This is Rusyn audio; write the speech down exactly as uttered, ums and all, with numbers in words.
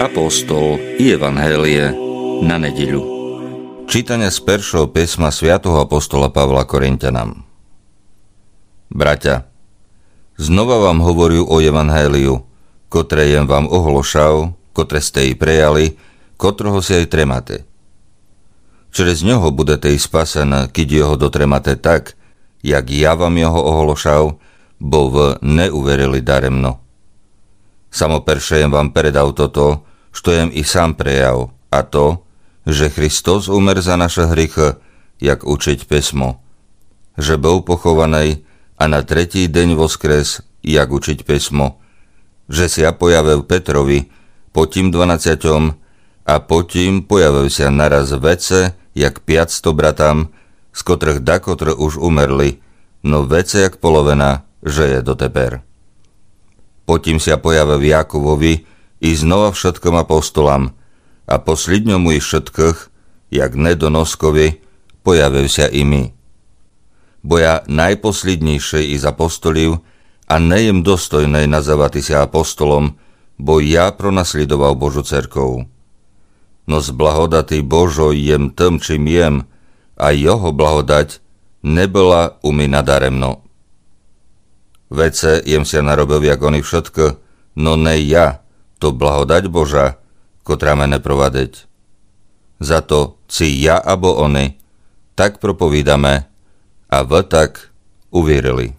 Апостол и Евангеліє на недїлю. Читаня з першого писма святого апостола Павла Коринтянам. Братя, знова вам говорю о Евангелію, котре єм вам оголошав, котре сте и прияли, котрого ся и тримате. Через нього будете и спасены, кидь його дотримате так, як я вам його оголошав, бо вы не уверили даремно. Само перше єм вам передав тото, што єм и сам прияв, а то, же Христос умер за нашы гріхы, як учить писмо, же быв похованый а на третій день воскрес, як учить писмо, же ся появив Петрови, потім дванадцятьом, а потім появив ся нараз веце як пятсто братам, з котрых дакотры уж умерли, но веце як половина жыє дотепер. Потім ся появив Яковови и знова вшыткым апостолам, а послїдньому из вшыткых, як недоноскови, появив ся и ми. Бо я найпослїднїйшый из апостолів, а не єм достойный называти ся апостолом, бо я пронаслїдовав Божу церков. Но з благодати Божой єм тым, чим єм, а його благодать не была у ми надаремно. Веце єм ся наробив, як они вшыткы, но не я, то благодать Божа, котра мене провадить. Зато ци я або они, так проповідаме, а вы так увірили.